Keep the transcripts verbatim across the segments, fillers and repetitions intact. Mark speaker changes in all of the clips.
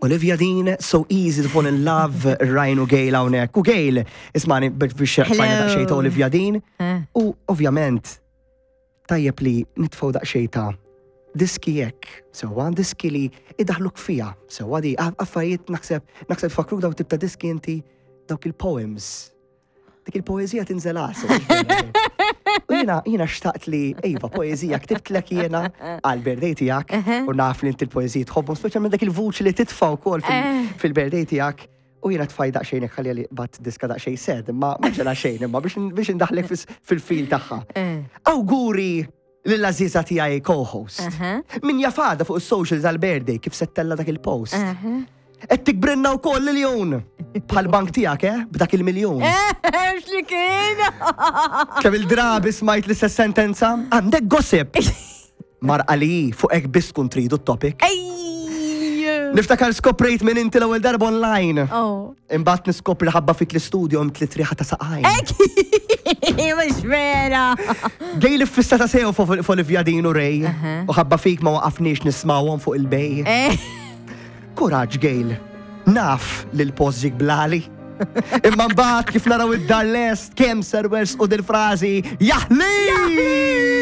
Speaker 1: Olivia Dean, "So Easy to Fall in Love", Ryan u Gail hawnhekk. U Gail, ismani biex fajna daqsxejn ta' Olivia Dean.
Speaker 2: Eh.
Speaker 1: U ovvjament, tajjeb li nitfgħu daqsxejn ta' diski jekk, sewwa diski li idaħluk fija, sewwa di affarijiet naħseb naħseb fakruk daw tip ta' diski inti dawk il-poems. Dik il-poezija tinżel għasel. U jiena jiena xtaqt li, iva, poezija ktibtlek jiena għal-birthday tiegħek u naf li inti l-poezija tħobbhom, speċjalment dak il-vuċi li titfa' wkoll fil-
Speaker 2: Eh.
Speaker 1: fil-birthday tiegħek. U jiena tfaj daqsxejn hekk ħalli li bat diska daqsxejn sad, imma ma ġara xejn, imma biex biex indaħlek fis- fil-feel tagħha.
Speaker 2: Eh.
Speaker 1: Awguri lill-għażiża tiegħi co-host.
Speaker 2: Aha.
Speaker 1: Min jafada fuq is-socials għal-birthday kif se ttella' dak il-post.
Speaker 2: Aha.
Speaker 1: Qed tikbrinna wkoll il-jun. Bħal bank tiegħek, eh? B'dak il-miljun.
Speaker 2: X'li kien?
Speaker 1: Kemm il-drabi smajt l-istess sentenza? Għandek gossip. Marqa li fuq hekk biss tkun tridu t-topic.
Speaker 2: Ej!
Speaker 1: Niftakar skoprejt minn inti l-ewwel darba online.
Speaker 2: Oh.
Speaker 1: Imbagħad niskopri ħabba fik l-istudio tliet riħa ta' saqajn.
Speaker 2: Mhux vera.
Speaker 1: Gej li fissa ta' sew fuq Olivia Dean u Ray.
Speaker 2: Aha.
Speaker 1: U ħabba fik ma waqafniex nismawhom fuq il-bej.
Speaker 2: Eh.
Speaker 1: Kuraġġ, Gail. Naf li l-post ġik blali. Imma mbagħad kif naraw id-dar lest kemm servers u dil-frażi jaħli!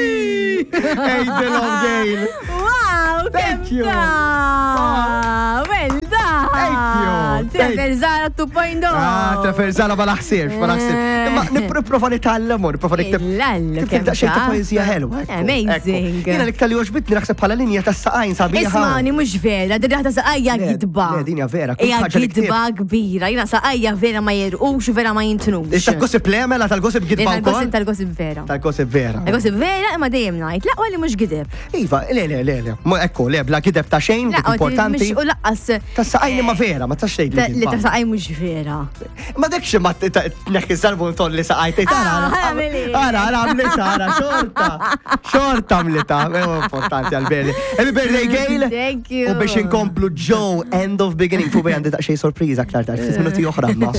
Speaker 1: Ejdilhom, Gail.
Speaker 2: Wow,
Speaker 1: Thank you.
Speaker 2: ta! Well done!
Speaker 1: Thank you. Thank-
Speaker 2: Trevor Zara two point oh.
Speaker 1: Ah, Trevor Zara ma naħsirx, ma naħsirx. Imma nipprova nitgħallem u nipprova nikteb.
Speaker 2: Illallu,
Speaker 1: Nikteb
Speaker 2: kemm
Speaker 1: daqsxejn ta'
Speaker 2: taf.
Speaker 1: poeżija ħelwa. Ekku,
Speaker 2: Amazing.
Speaker 1: ekku. Jiena l-iktar li għoġbitni naħseb bħala linja ta' saqajn sabiħa.
Speaker 2: Ismani, mhux vera, din ta' saqajja
Speaker 1: Le,
Speaker 2: gidba.
Speaker 1: le, din hija vera, kull
Speaker 2: Hija
Speaker 1: ħaġa li
Speaker 2: gidba kbira. Jiena saqajja vera ma jirqux u vera ma jintnux.
Speaker 1: Tal-gossip le, mela tal-gossip gidba
Speaker 2: Tal-gossip
Speaker 1: wkoll?
Speaker 2: Tal-gossip vera.
Speaker 1: Tal-gossip vera.
Speaker 2: Tal-gossip vera, imma dejjem ngħid, laqwa li mhux gideb.
Speaker 1: Iva, le, le, le, le. Mo ekku, le, bla gideb ta' xejn, dik
Speaker 2: Laqwa
Speaker 1: importanti.
Speaker 2: U laqqas
Speaker 1: Ta' saqajn imma vera, ma tax tgħid
Speaker 2: ta-
Speaker 1: li
Speaker 2: li ta'
Speaker 1: gidba.
Speaker 2: saqaj mhux vera.
Speaker 1: Ma dik xi ma tneħħi sarbun tolli saqajt.
Speaker 2: Ah, għamili.
Speaker 1: Ara, ara, għamlita, ara, xorta. Xorta għamlita. Ewa, importanti għal-berli. Happy birthday, Gail.
Speaker 2: Thank you.
Speaker 1: U biex inkomplu Joe, "End of Beginning", fuq għandi daqsxejn sorpriża aktar tard, ftit minuti oħra ma.